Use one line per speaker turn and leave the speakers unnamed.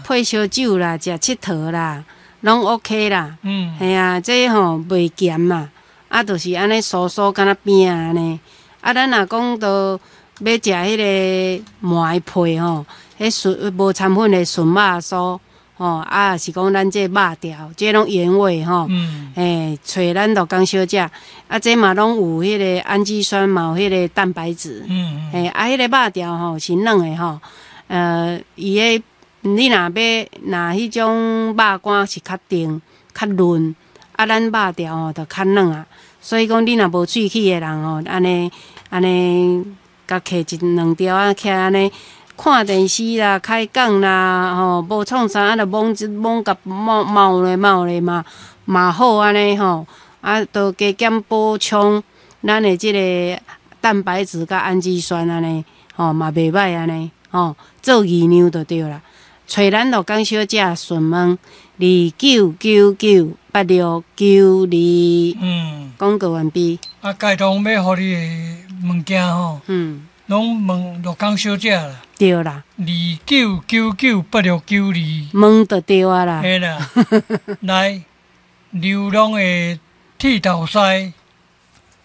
配燒酒啦，食𨑨迌啦，攏 OK 啦。嘿啊，這吼袂鹹嘛，啊，就是按呢酥酥敢若餅按呢。啊，咱若講到欲食彼个糜皮吼，彼純無摻粉的純肉酥吼，啊，是講咱這肉條，這攏原味吼。欸，揣咱鹿港小姐，啊，這嘛攏有彼个氨基酸，嘛有彼个蛋白質。欸，啊，彼个肉條吼是軟的吼，伊个你若欲若彼種肉乾是較甜、較潤，啊，咱肉條吼就較軟啊。所以講，你若無喙齒的人吼，按呢按呢，共摕一兩條啊，徛按呢看電視啦、開講啦，吼，無創啥啊，就摸一摸共摸貓咧貓咧嘛嘛好按呢吼，啊，都加減補充咱的這个蛋白質佮氨基酸按呢，吼嘛袂䆀按呢，吼，做魚糧就對啦。揣咱鹿港小姐詢問29998692。廣告完畢。
啊，街頭欲予你的物件吼，攏問鹿港小姐啦。
對啦。
29998692。
問就對啊啦。
嘿啦，來，流浪的剃頭師。